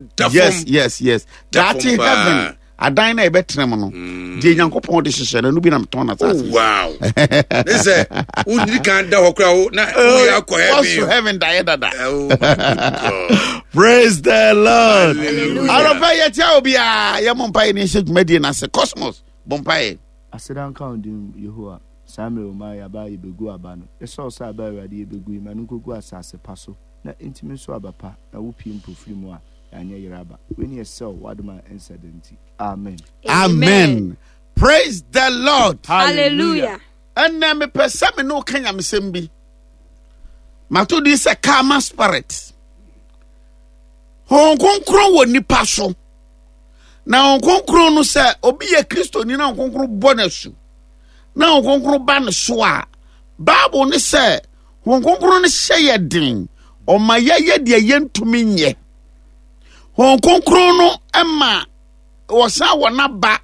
Da fam. Yes, Da daakye fam paa. heaven adan na yɛbɛtena mu no, deɛ Nyankopɔn de hyehyɛ no, ɛno bi na metɔn na Oh, asase. wow. Ne sɛ wonni kan da hɔ koraa wo na woyɛ akɔ Wɔso heaven. heaven daeɛ dada. Oh my good God. Praise the Lord. Hallelujah. Anɔpa yɛkyia obiaa, yɛmmɔ mpaeɛ ne yɛhyɛ dwumadie no ase. Cosmos, bɔ mpaeɛ. Aseda nka wo din, Yehowa. Saa mmerɛ wo ma yɛaba a yɛbɛgu aba no. Yɛsrɛ wo sɛ aba a Awurade yɛbɛgu yi, ma no nkɔgu asase pa so na ɛntumi nso aba pa, na wopue mpofirim mu a, yɛanyɛ yera aba. Wei ne yɛsrɛ wo, w'adom a ɛnsa da nti. Amen. Amen. Praise the Lord. Hallelujah. Ɛnɛ mepɛ sɛ me ne wo ka nyamesɛm bi. Mato din sɛ karma spirit. Honhom Kronkron wɔ nipa so. Na Honhom Kronkron no, sɛ obi yɛ Kristoni na Honhom Kronkron bɔ no asu na Honhom Kronkron ba ne so a, Bible ne sɛ Honhom Kronkron no hyɛ yɛ den, ɔma yɛyɛ deɛ yɛntumi nyɛ. Honhom Kronkron no ma wɔsan wɔ n'aba,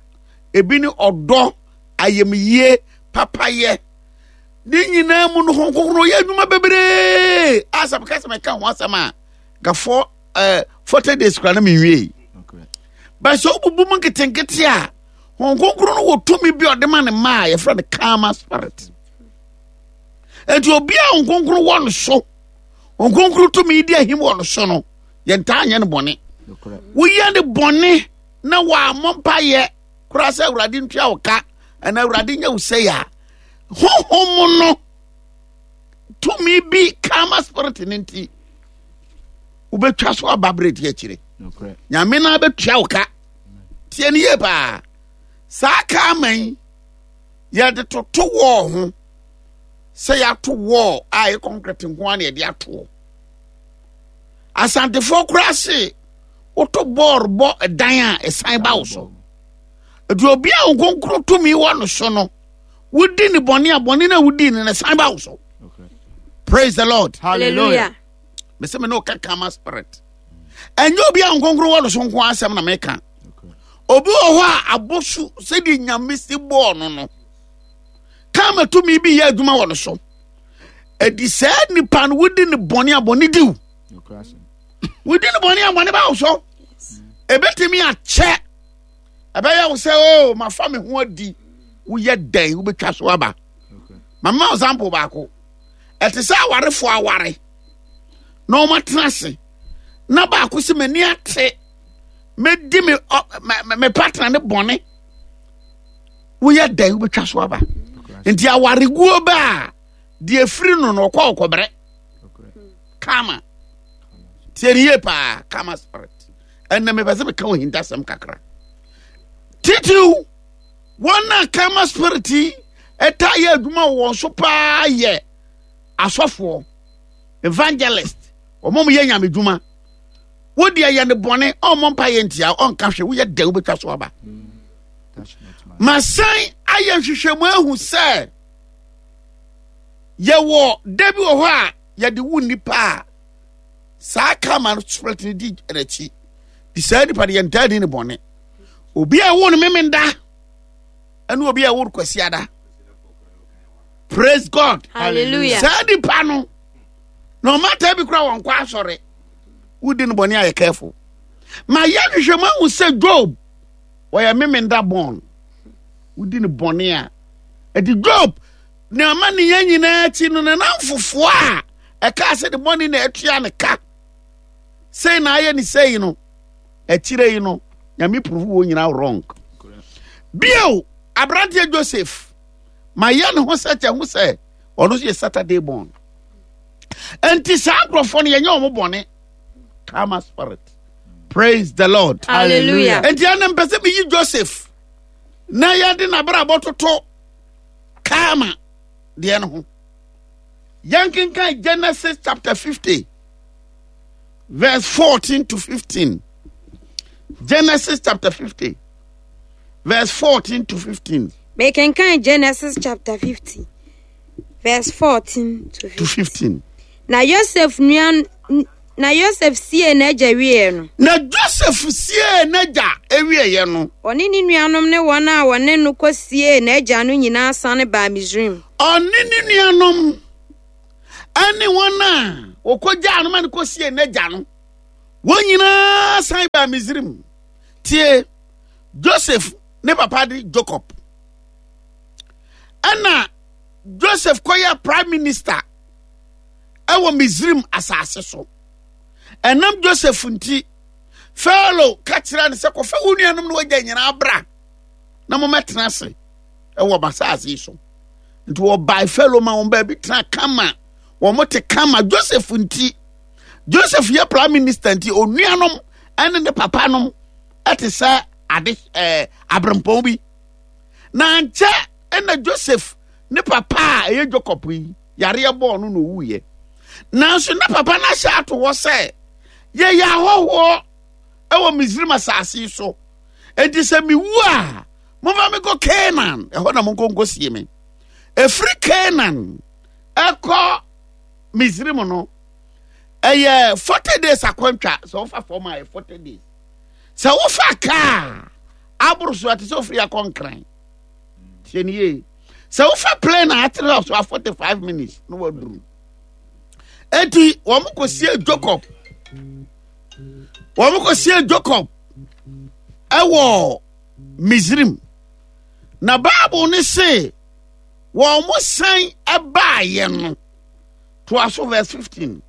ebi ne ɔdɔ, ayamyie, papayɛ. Ne nyinaa mu no, Honhom Kronkron yɛ adwuma bebree. A sɛ meka sɛ meka ho asɛm a, nka fɔ 40 days kora na menwie. But sɛ wobubu mu nketenkete a, Honhom Kronkron no wɔ tumi bi a ɔde ma ne mma a yɛfrɛ no karma spirit. Enti obi a Honhom Kronkron wɔ no so, Honhom Kronkron tumi di ahim wɔ no so no, yɛntaa nyɛ no bɔne. Woyɛ ne bɔne na wɔammɔ mpayɛ koraa sɛ Awurade ntua wo ka anaa Awurade nyɛ wo sɛe a, honhom no tumi bi, karma spirit no nti, wobɛtwa so aba berɛ di akyire. Nyame no abɛtua wo ka. Tie no yie paa. Saa karma yi, yɛde toto wɔɔ ho sɛ yɛato wɔɔ a ɛyɛ concrete nko ara na yɛde atoɔ. Asantefoɔ koraa se woto bɔɔl bɔ dan a, ɛsan ba wo so. Nti obi a nkonkoro tumi wɔ no so no, wodi ne bɔne a, bɔne no a wodi no no san ba wo so. Praise the Lord. Hallelujah. Mese me ne woka karma spirit. Ɛnyɛ obi a nkonkoro wɔ no so nko asɛm na meka. Obi wɔ hɔ a abosu sɛdeɛ Nyame si bɔɔ no no, karma tumi bi yɛ adwuma wɔ no so. Ɛdi saa nipa no, wodi ne bɔne a, bɔne diw. Wodi ne bɔne a, bɔne ba wo so. Ebetumi akyɛ, ɛbɛyɛ wo sɛ o oh, mafa me ho adi. Woyɛ dɛn wobɛtwa so aba. Mama example baako. Ɛte sɛ awarefoɔ aware na wɔn atena ase na baako sɛ m'ani ate, mɛdi me me me partner ne bɔne. Woyɛ dɛn wobɛtwa so aba. Nti awareguo ba a, deɛ efiri no no ɔkɔ ɔkɔbrɛ kama. Tie ne yie paa, karma spirit. Ɛnna mepɛ sɛ meka wɔ hintasɛm kakra titiriw. Wɔn a karma spirit yi ɛtaa yɛ adwuma wɔ wɔn so paa yɛ asɔfoɔ, evangelist, wɔn a wɔyɛ nyame dwuma. Wodi ɛyɛ ne bɔne, ɔmmɔ mpa yɛ ntia, ɔnka hwɛ, woyɛ dɛ wobɛtwa so aba. Masan ayɛ nhwehwɛmu ahu sɛ yɛwɔ da bi wɔ hɔ a yɛde wo nnipa a saa karma no spirit no di n'akyi di saa nipa no, yɛntaa di ne bɔne. Obi a ɛwo no Memenda ɛne obi a ɛwo no Kwasiada, praise God. Hallelujah. Saa nipa no na ɔmata bi kora wɔn kɔ asɔre, wodi no bɔne ayɛ careful. Ma yɛ nhwehwɛmu ahu sɛ Job wɔyɛ Memenda born, wodi no bɔne a ɛdi Job na ama ne yɛn nyinaa akyi no, ne namfofoɔ a ɛkaa sɛ ne bɔne na atua ne ka sei na ayɛ ne sei no, akyire yi no Nyame prove wɔ nyinaa wrong. Bio, aberanteɛ Joseph, ma yɛ ne ho sɛ kyɛ ho sɛ ɔno nso yɛ Saturday born. Nti saa nkurɔfoɔ no yɛnyɛ wɔn bɔne. Karma spirit. Praise the Lord. Hallelujah. Nti ɛna mpɛ sɛ meyi Joseph na yɛde n'abrabɔ toto karma deɛ no ho. Yɛnkenkan Genesis chapter 50 verse 14 to 15. Genesis chapter 50 verse 14 to 15. Mekenkan Genesis chapter 50 verse 14 to 15. To 15. Na Yosef nua na Yosef siee n'agya wieɛ no. Na Joseph siee n'agya wieɛ no. Ɔne ne nuanom ne wɔn a wɔne no kɔsiee n'agya no nyinaa sane baa Misraim. Ɔne ne nuanom ne wɔn a wɔkɔgyaa no ma no kɔsiee n'agya no, Wɔn nyinaa san baa Misrim. Tie, Joseph ne papa de Jacob. Ɛna Joseph kɔyɛ prime minister ɛwɔ Misrim asase so. Ɛnam Joseph nti, Pharaoh ka kyerɛ no sɛ kɔfa wo nuanom no wagya nyinaa bra na mommɛtena ase ɛwɔ m'asase yi so. Nti wɔbae Pharaoh ma wɔn baabi tena kama. Wɔn te kama Joseph nti. Joseph yɛ prime minister nti onuanom ɛne ne papa nom ɛte sɛ ade ɛɛ abrempɔn bi. Na nkyɛ ɛna Joseph ne papa a ɛyɛ Jacob yi yareɛ bɔɔ no na owuiɛ. Nanso ne papa no ahyɛ ato hɔ sɛ yɛyɛ ahɔhoɔ ɛwɔ Misrim asase yi so. Enti sɛ mewu a momfa me kɔ Canaan ɛhɔ na monkɔ nkɔsie me. Ɛfiri Canaan ɛkɔ Misrim no ɛyɛ 40 days akwantwa sɛ wofa fam a ɛyɛ 40 days. Sɛ wofa kaa aboro so a te sɛ ofiri akɔ Nkran. Tie ne yie. Sɛ wofa plane a atere so a 45 minutes na waduru. Eti wɔn kɔsie Jacob. Wɔn kɔsie Jacob ɛwɔ Misrim. Na Bible ne se wɔn san baeɛ no. Toa so verse 15.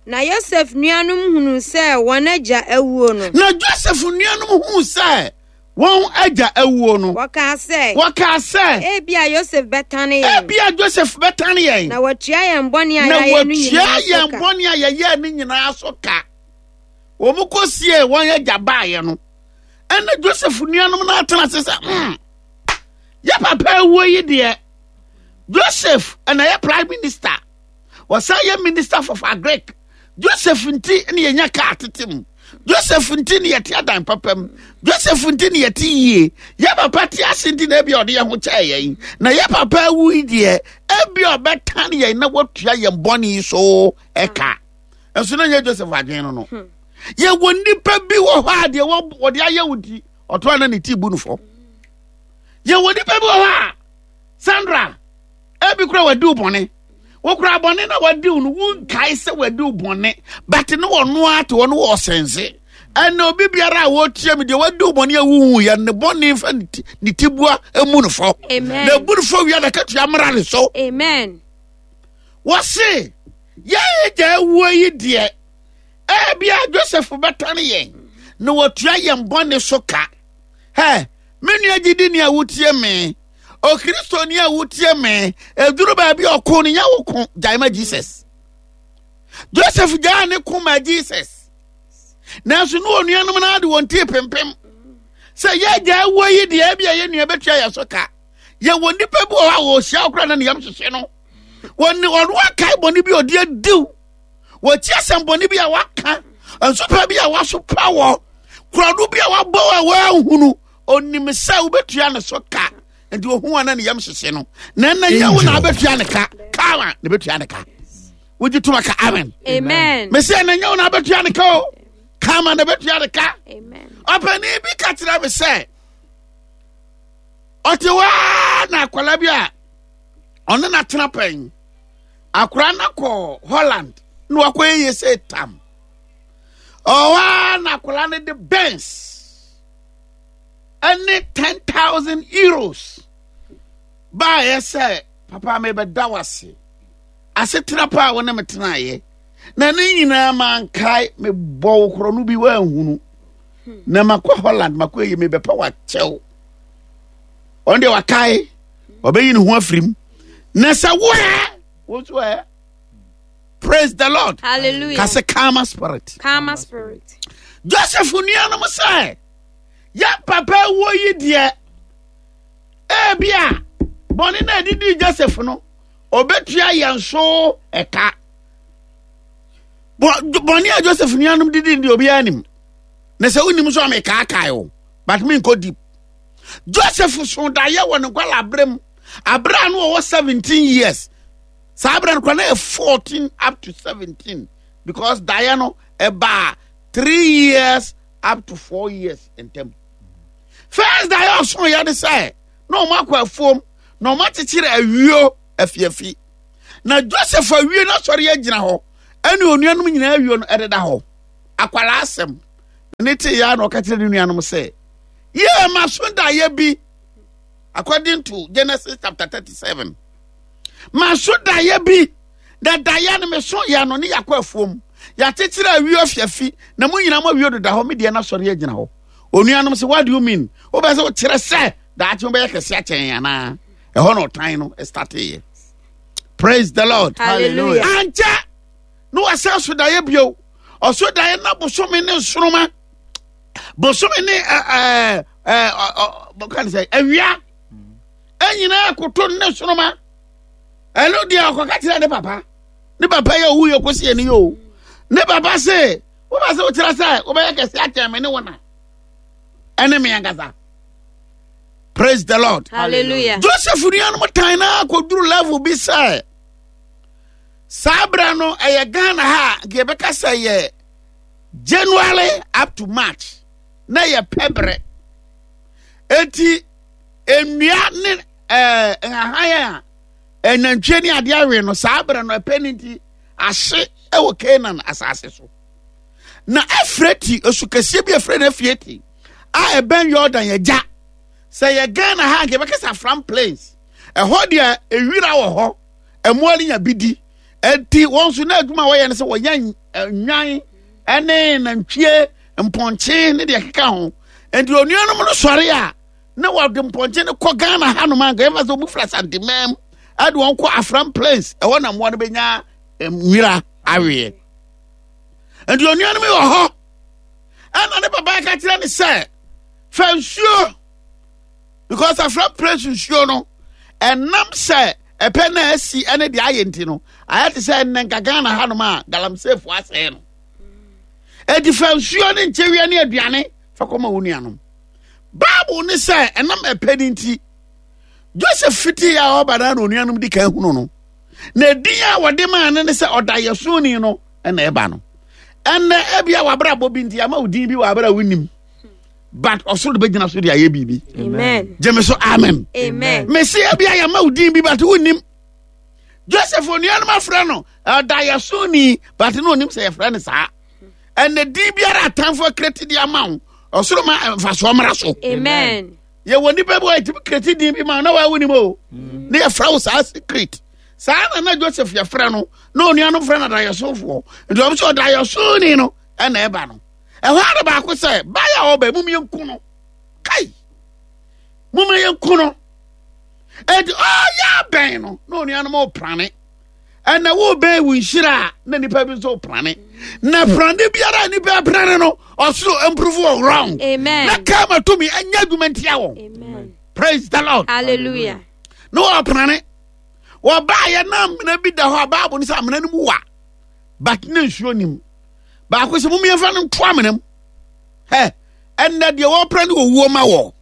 Na Yosef nuanom hunuu sɛ wɔn agya awuo no. Na Joseph nuanom huu sɛ wɔn agya awuo no. Wɔkaa sɛ. Wɔkaa sɛ. Ebia Yosef bɛtane yɛn. Ebia Joseph bɛtane yɛn. Na watua yɛn bɔne a yɛayɛ no nyinaa so ka. Na watua yɛn bɔne a yɛyɛɛ no nyinaa so ka. Wɔn kɔsiee wɔn agya baeɛ no, ɛna Joseph nuanom no atena ase sɛ, yɛ papa awuo yi deɛ, Joseph ɛna yɛ prime minister. Wɔsan yɛ minister for agric. Joseph nti ne yɛnya kaa tete mu. Joseph nti ne yɛte adan papa mu. Joseph nti ne yɛte yie. Yɛ papa te ase nti na ebi ɔde yɛn ho kyɛɛ yɛn. Na yɛ papa awu yi deɛ, ebi ɔbɛtan yɛn na watua yɛn bɔne yi so ɛka. Nso na nyɛ Joseph adwene no no. Yɛwɔ nnipa bi wɔ hɔ a deɛ wɔde ayɛ wo nti, ɔto a na ne ti bu no fɔ. Yɛwɔ nnipa bi wɔ hɔ a, Sandra, ebi kura wadi wo bɔne. Wokura bɔne na wadi wo no, wonkae sɛ wadi wo bɔne. But ne wɔno ara te hɔ no wɔ ɔsɛnse. Ɛna obi biara a wɔtie me deɛ wadi wo bɔne a wohu yɛ ne bɔne mfa ne ti bua emu no fɔ. Amen. Na ebu no fɔ wia na katua mmra ne so. Amen. Wɔse yɛn agya awuo yi deɛ, ebia Joseph bɛtane yɛn na watua yɛn bɔne so ka. Hɛ, me nua gyidini a wotie me, Okristoni a wotie me, eduru baabi a ɔko no nyɛ wo ko, gyae ma Jesus. Joseph gyaa ne ko ma Jesus. Nanso ne onuanom no ade wɔn ti pempem. Sɛ yɛgya awuo yi deɛ ebi a yɛn nua bɛtua yɛn so ka. Yɛwɔ nnipa bi wɔ hɔ a wɔhyia wo koraa na ne yam hyehye no. Wɔne ɔno akae bɔne bi a ɔde adiw. Wɔti asɛm bɔne bi a waka, nsopa bi a wasopa wɔ, korɔno bi a wabɔ a wɔanhunu. Onim sɛ wobɛtua ne so ka, nti ohu a na ne yam hyehye no. Na ɛnna nyɛ wo na wobɛtua ne ka, kawa na bɛtua ne ka. Wogye toma ka amen. Amen. Mese ɛnna nyɛ wo na wobɛtua ne ka o, kama na bɛtua ne ka. Amen. Ɔpanin bi ka kyerɛ me sɛ, ɔte hɔ ara na akwadaa bi a ɔne no atena pɛn. Akwadaa no kɔ Holland na wakɔyɛ yie sɛ tam. Ɔwɔ ara na akwadaa no de Benz ɛne 10,000 euros baayɛ sɛ papa mebɛda wo ase asetena pa a wo ne me tenaeɛ na ne nyinaa mankae mebɔ wo korɔ no bi woanhunu na makɔ Holland makɔ yi mebɛpɛ wakyɛw ɔno deɛ wakae ɔbɛyi ne ho afiri mu na sɛ woɛ wo nso ɛ praise the Lord. Hallelujah. Ka sɛ karma spirit. Karma spirit. Joseph nuanom sɛ yɛn papa wuo yi deɛ ebi a bɔne na ɛdidi Joseph no ɔbɛtua yɛn so ɛka bɔne a Joseph nuanom didi deɛ obiara nim na sɛ wonim nso a mekaakae o but menkɔ deep. Joseph so daeɛ wɔ ne nkwala abere mu abere a no wɔwɔ 17 years saa abere no kora na yɛ 14 up to 17 because daeɛ no ɛbaa 3 years up to 4 years ntam. First daeɛ ɔso yɛ ne sɛ na wɔn akɔ afuom na wɔn akyekyere awio afiafi na Joseph awie no asɔre agyina hɔ ɛne onuanom nyinaa awio no ɛdeda hɔ. Akwadaa asɛm. Ne te ya na ɔka kyerɛ ne nuanom sɛ, yɛ ma so daeɛ bi. According to Genesis chapter 37. Ma so daeɛ bi. Na daeɛ no meso yɛ no ne yɛakɔ afuom. Yɛakyekyere awi afiafi na mo nyinaa mo awio deda hɔ me deɛ no asɔre agyina hɔ. Onuanom sɛ what do you mean? Wobɛ sɛ wokyerɛ sɛ daakye wobɛyɛ kɛse akyɛn anaa? Ɛhɔ na ɔtan no starteeɛ. Praise the Lord. Hallelujah. Ankyɛ na wasan so daeɛ bio. Ɔso daeɛ na bosome ne nsoroma. Bosome ne ɛɛ ɛɛ ɔ ɔ sɛ awia. Ɛnyinaa koto ne nsoroma. Ɛno deɛ ɔkɔka kyerɛ ne papa. Ne papa yɛ owu yɛ kɔsi ɛni yɛ o. Ne papa se wobɛ sɛ wokyerɛ sɛ wobɛyɛ kɛse akyɛn me ne wo na ɛne me ankasa. Praise the Lord. Hallelujah. Joseph nuanom tan na akɔduru level bi sɛ saa berɛ no ɛyɛ Ghana ha a nka yɛbɛka sɛ yɛ January up to March na yɛ pɛ berɛ. Eti nnua ne ɛɛ nhahan a ɛnantwie ne adeɛ awe no saa berɛ no ɛpɛ ne nti ahye wɔ Canaan asase so. Na Efrati osu kɛseɛ bi efrɛ no Efrati a ɛbɛn Yordan agya. Sɛ yɛ Ghana ha nka yɛbɛka sɛ Afram Plains. Ɛhɔ deɛ ewira wɔ hɔ, ɛmoa no nya bi di. Enti wɔn nso na adwuma a wɔyɛ no sɛ wɔyɛ nnwan ne nantwie, mpɔnkye ne deɛ ɛkeka ho. Enti onuanom no sɔre a na wɔde mpɔnkye no kɔ Ghana hanom a nka yɛfa sɛ wɔn fira Santemam ɛde wɔn kɔ Afram Plains ɛhɔ na mmoa no bɛnya nwira aweɛ. Enti onuanom yi wɔ hɔ ɛna ne papa ka kyerɛ ne sɛ fa nsuo because Afram Plains nsuo no ɛnam sɛ ɛpɛ na asi ɛne deɛ ayɛ nti no ayɛ te sɛ ɛnnɛ nka Ghana hanom a galamseyfoɔ asɛe no. Enti fa nsuo ne nkyewia ne aduane fa kɔma wo nuanom. Bible ne sɛ ɛnam ɛpɛ no nti Joseph fiti a ɔba na onuanom di kan hunu no na edin a wɔde maa no ne sɛ ɔdayɛsoni no ɛna ɛba no. Ɛnɛ ebia wabrabɔ bi nti ama wo din bi wɔ abere a wonim but ɔsoro de bɛgyina so de ayɛ biribi. Amen. Gyeme so amen. Amen. Mesi ebia yɛma wo din bi but wonim. Joseph onuanom afrɛ no ɔdayɛsoni but na onim sɛ yɛfrɛ no saa. Ɛnɛ din biara atamfo akreti de ama wo ɔsoro ma mfasoɔ mmra so. Amen. Yɛwɔ nipa bi wɔ yɛtumi kreti din bi ma na wɔawo nim o. Ne yɛfrɛ wo saa secret. Saa na na Joseph yɛfrɛ no na onuanom frɛ no adayɛsofoɔ. Nti wɔn sɛ ɔdayɛsoni no ɛna ɛba no. Ɛhɔ ara baako sɛ baayɛ a ɔba mum yɛnku no. Kai! Mum yɛnku no. Enti ɔyɛ abɛn no na onuanom ɔprane. Ɛna wobɛn wo nhyira a na nipa bi nso prane. Na prane biara a nipa prane no ɔsoro improve wɔ wrong. Amen. Na kama tumi ɛnyɛ adwuma ntia wɔn. Amen. Praise the Lord. Hallelujah. Na wɔprane. Wɔbaayɛ na amena bi da hɔ a Bible no sɛ amena no mu wa. But na nsuo nim. Baako sɛ mum yɛmfa no nto amena mu. Hɛ ɛnna deɛ wɔpra ne owuo ma wɔ.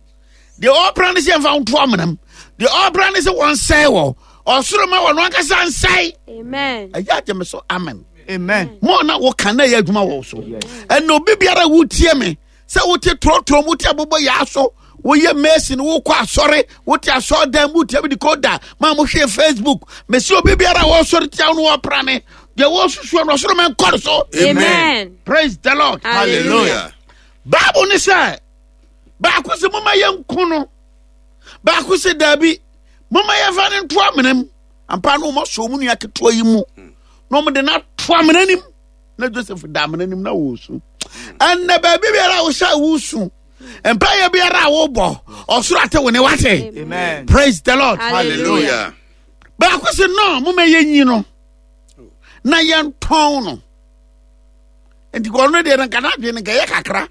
Deɛ ɔpra ne sɛ yɛmfa nto amena mu. Deɛ ɔpra ne sɛ wɔnsɛe wɔ. Ɔsoro ma wɔn ankasa nsɛe. Amen. Ɛyɛ agye me so amen. Amen. Mo na woka na ɛyɛ adwuma wɔ so. Ɛnna obi biara wotie me sɛ wote torɔtorɔ mu wote abobɔ yaa so woyɛ mason wokɔ asɔre wote asɔredan mu wotia bi de koda ma mohwɛ facebook mesi obi biara a wɔsɔre tia wo no wɔpra ne deɛ wɔsusuo no ɔsoro mɛnkɔre so. Amen. Praise the Lord. Hallelujah. Bible ne sɛ baako sɛ moma yɛnko no baako sɛ daabi moma yɛmfa no nto amena mu ampa no wɔn asɔ wɔn nua ketewa yi mu na wɔn de no ato amena nim na Joseph da amena nim na wɔresu ɛnna baabi biara a wohyɛ a wosu mpaeɛ biara a wobɔ ɔsoro ate wo ne wate. Amen. Praise the Lord. Hallelujah. Baako sɛ no moma yɛnyi no na yɛntɔn no nti ɔno deɛ no nka n'adwene no nka ɛyɛ kakra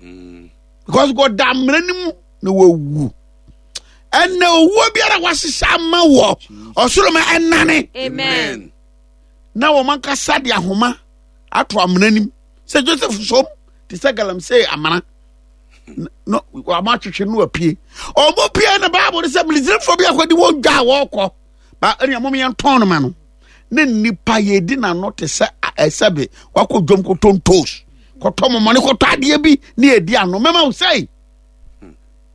because ɔda amena no mu na wawu ɛnna owuo biara wahyehyɛ ama wɔ ɔsoro ma ɛnane. Amen. Na wɔn ankasa de ahoma ato amena nim sɛ Joseph som te sɛ galamsey amena no wɔn atwetwe no apue wɔn pue na Bible no sɛ Misraimfoɔ bi akɔdi wɔn dwa a wɔrekɔ ba ɛnna wɔn yɛn tɔn no ma no ne nipa yɛdi n'ano te sɛ ɛsɛbe wakɔ dwom kɔtɔ ntoos kɔtɔ mɔmɔne kɔtɔ adeɛ bi ne yɛdi ano mɛma wo sɛi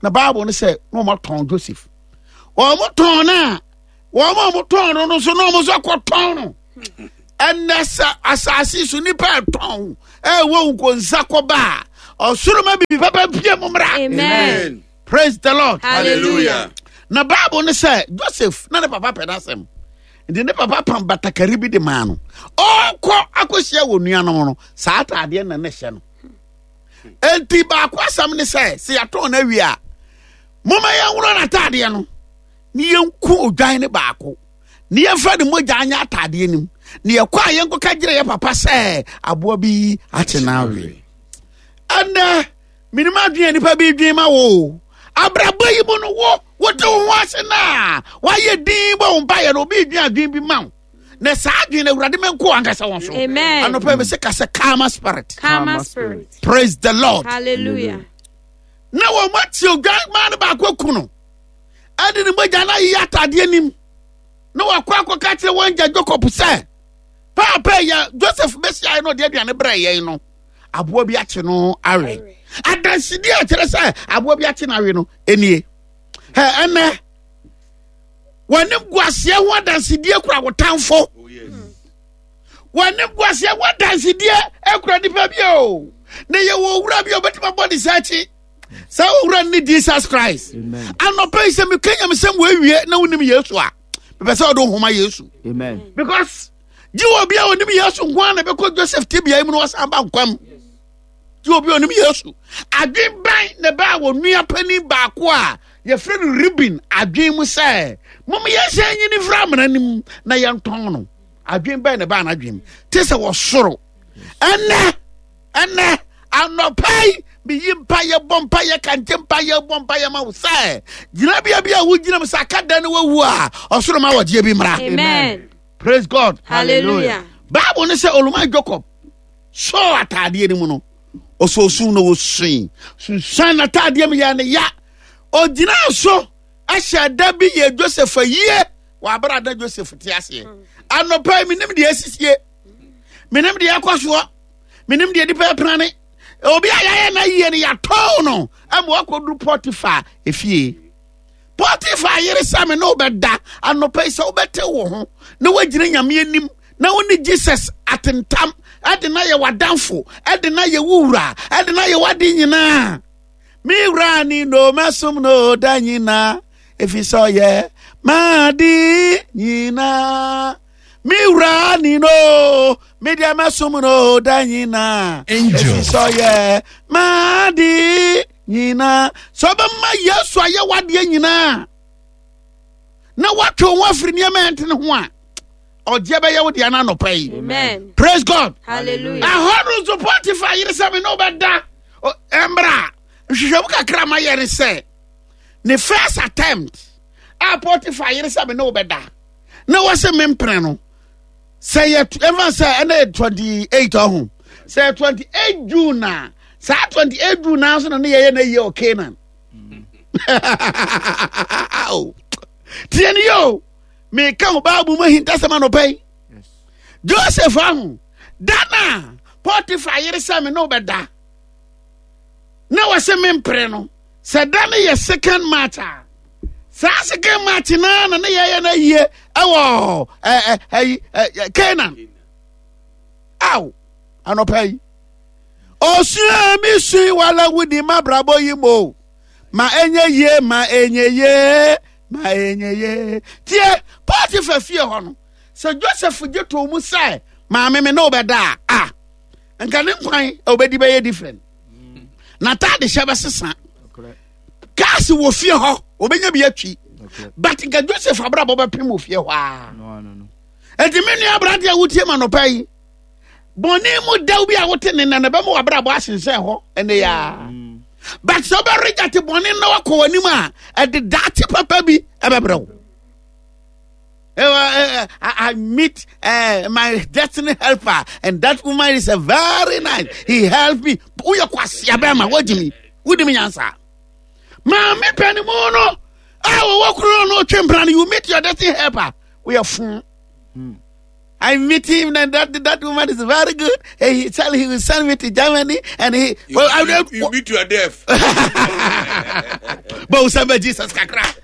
na Bible no sɛ na wɔn atɔn Joseph wɔn tɔn no a wɔn a wɔn tɔn no no nso na wɔn nso akɔtɔn no. Ɛnnɛ sɛ asase so nipa ɛtɔn ɛwɔ nkonsa kɔba a, ɔsoro ma bibi papa mpie mu mmra. Amen. Praise the Lord. Hallelujah. Na Bible ne sɛ Joseph na ne papa pɛ n'asɛm. Nti ne papa pam batakari bi de maa no. Ɔkɔ akɔhyia wɔ nuanom no, saa ataadeɛ na ne hyɛ no. Enti baako asɛm ne sɛ, sɛ yɛatɔn no awie a, momma yɛnworɔ n'ataadeɛ no ne yɛnku odwan no baako ne yɛmfa ne mogya anyɛ ataadeɛ no mu ne yɛkɔ a yɛnkɔka gyerɛ yɛ papa sɛ aboa bi akye no awe. Ɛnɛ menim adwene a nipa bi dwen ma wo abrabɔ yi mu no wo wote wo ho ase no a woayɛ din bɔ wo mpaeɛ no obi dwen adwene bi ma wo na saa adwene no awurade mɛnko ankasa wɔn so. Amen. Anɔpa mi sɛ kasɛ karma spirit. Karma spirit. Praise the Lord. Hallelujah. Na wɔn ati odwan maa no baako aku no ɛde ne mogya no ayiyi ataadeɛ nim na wakɔ akɔka kyerɛ wɔn gya Jacob sɛ paapa yɛ Joseph bɛhyiaeɛ na ɔde aduane brɛ yɛn no aboa bi akye no awe. Adansedie a kyerɛ sɛ aboa bi akye no awe no nie. Ɛ ɛnɛ wɔne guaseɛ ho adansedie kura wo tamfo. Oh, Wɔne guaseɛ ho adansedie kura nipa bi o. Na yɛwɔ owura bi a ɔbɛtumi abɔ ne sa akyi. Saa owura no ne Jesus Christ. Anɔpa yi sɛ meka nyamesɛm wɔ awie na wonim Yesu a, mepɛ sɛ ɔde wo homa Yesu. Amen. Because gye wɔ obi a onim Yesu nko ara na ɛbɛkɔ Joseph tebea yi mu na wasan ba nkwa mu. Gye obi a onim Yesu. Adwen bɛn na ɛbaa wɔ nua panin baako a yɛfrɛ no Reuben adwen mu sɛ mom yɛnhyɛ nyini mfiri amena no mu na yɛntɔn no. Adwen bɛn na ɛbaa n'adwen mu? Te sɛ wɔ soro. Ɛnɛ, ɛnɛ, anɔpa yi, meyi mpa yɛ bɔ mpa yɛ kante mpa yɛ bɔ mpa yɛ ma wo sɛ gyinabea bi a wogyina mu sɛ aka dan no wawu a ɔsoro ma wɔgyeɛ bi mmra. Amen. Praise God. Hallelujah. Bible ne sɛ Oluman Jacob sɔɔ ataadeɛ no mu no ɔsɔɔ sum na ɔsui sunsuan n'ataadeɛ mu yɛ ne ya ɔgyinaa so ɛhyɛ da bi yɛ Joseph ayie wɔ abere a na Joseph te aseɛ anɔpa yi menim deɛ asisie menim deɛ ɛkɔ soɔ menim deɛ nipa ɛpenane obi a yɛayɛ no ayie no yɛatɔn no ama wakɔduru Potiphar efie Potiphar yere sɛ me ne wobɛda anɔpa yi sɛ wobɛte wo ho na woagyina Nyame anim na wo ne Jesus atentam ɛde na yɛ w'adamfo ɛde na yɛ wo wura ɛde na yɛ w'ade nyinaa. Me wura ni no mɛsom no da nyinaa ɛfiri sɛ ɔyɛ m'ade nyinaa. Me wura ni no me deɛ mɛsom no da nyinaa ɛfiri sɛ ɔyɛ m'ade nyinaa. Sɛ ɔbɛma Yesu ayɛ w'adeɛ nyinaa na woatwe wo ho afiri nneɛma a ɛntene ho a, ɔgyeɛ bɛyɛ wo deɛ no anɔpa yi. Amen. Praise God. Hallelujah. Ɛhɔ no nso Potiphar yere sɛ me ne wobɛda mmra. Nhwehwɛmu kakra ma yɛ ne sɛ ne first attempt a Potiphar yere sɛ me ne wobɛda na wɔsɛ mempene no sɛ yɛ ɛfa sɛ ɛna yɛ 28 ɔho sɛ yɛ 28 June a saa 28 June naa so na ne yɛyɛ na yie wɔ Canaan. Tie ne yɛ o meka wo Bible mu ahintasɛm anɔpa yi. Joseph ahu da no a Potiphar yere sɛ me ne wobɛda na wɔsɛ mempere no sɛ da no yɛ second March a saa second March naa na ne yɛyɛ no ayie ɛwɔ ɛyi Canaan. Aw anɔpa yi osua mi sui wala wudi mabrabɔ yi mo ma enye yie ma enye yie ma enye yie tie Potiphar fie hɔ no sɛ Joseph gye too mu sɛ maame me ne wobɛda a a nka ne nkwan a wobɛdi bɛyɛ different n'ataade hyɛ bɛsesa kaase wɔ fie hɔ obɛnya bi atwi but nka Joseph abrabɔ bɛpem wɔ fie hɔ a enti me nua aberante a wotie ma nɔpa yi bɔne mu dɛw bi a wote ne nna na ɛbɛma w'abrabɔ asensɛn hɔ ɛnɛ yaa mm. but sɛ wobɛregyate bɔne na wakɔ w'anim a ɛde daakye papa bi ɛbɛbrɛ wo I meet my destiny helper, and that woman is a very nice. He helped me. Uya kwasia bema, what do me? What do me answer? Maame pɛni mu no, a wɔwɔ kuro no twɛ mpena no, you meet your destiny helper. We are fun. I meet him and that woman is very good. And he tell he will send me to Germany and he you, well, you, you meet your death. But we serve Jesus kakra.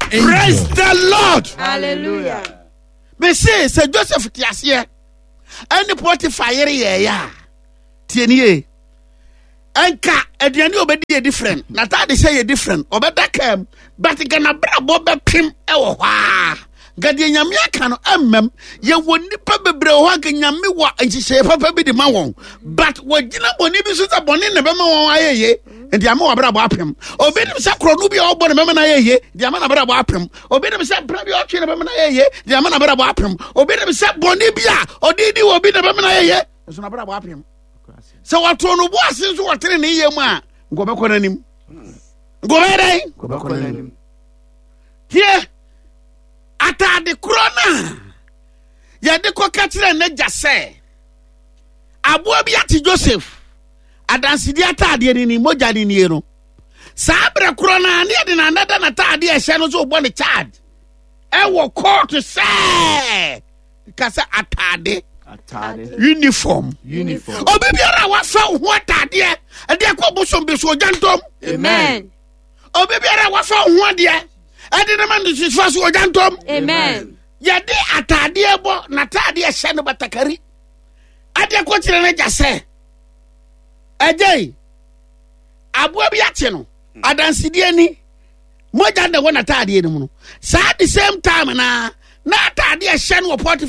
Praise the Lord. Hallelujah. Me say, say Joseph te aseɛ. ɛne Potifa yere yɛɛyɛ a, tie nie, nka aduane a ɔbɛdi yɛ different, n'ataade hyɛ yɛ different, ɔbɛda kaa mu, but nka n'abrabɔ bɛpem wɔ hɔ a, nka deɛ Nyame aka no ɛmmam. Yɛwɔ nnipa bebree wɔ hɔ a nka Nyame wɔ nhyehyɛeɛ papa bi de ma wɔn, but wɔgyina bɔne bi so sɛ bɔne na ɛbɛma wɔn ayɛ yie, nti ama wɔabrabɔ apem. Obi nim sɛ korɔno bi a ɔbɔ no bɛma no ayɛ yie, deɛ ama n'abrabɔ apem. Obi nim sɛ mpena bi a ɔtwe no bɛma no ayɛ yie, deɛ ama n'abrabɔ apem. Obi nim sɛ bɔne bi a ɔde di wɔ bi na bɛma no ayɛ yie, nso n'abrabɔ apem. Sɛ wɔtoo no bo ase nso wɔtene ne yɛ mu a, nka ɔbɛkɔ n'anim. Nka ɔbɛyɛ dɛn? Ɔbɛkɔ n'anim. Tie, ataade korɔ no a yɛde kɔka kyerɛ n'agya sɛ aboa bi ate Joseph adansedi ataadeɛ no ni, mogya no nie no, saa berɛ korɔ no a ne yɛde n'anada n'ataadeɛ ɛhyɛ no so bɔ ne charge ɛwɔ kɔɔto sɛ ka sɛ ataade uniform. Obi biara a wafa wo ho ataadeɛ ɛde akɔ bosom bi so ogya ntɔm. Amen. Obi biara a wafa wo ho adeɛ ɛde ne ma ne sofa so ogya ntɔm. Amen. Yɛde ataadeɛ bɔ n'ataadeɛ hyɛ no batakari adeɛ kɔ kyerɛ no agya sɛ agya yi aboa bi akye no adansedie ni mogya na ɛwɔ n'ataadeɛ no mu no, saa the same time na n'ataadeɛ hyɛ no wɔ pɔt.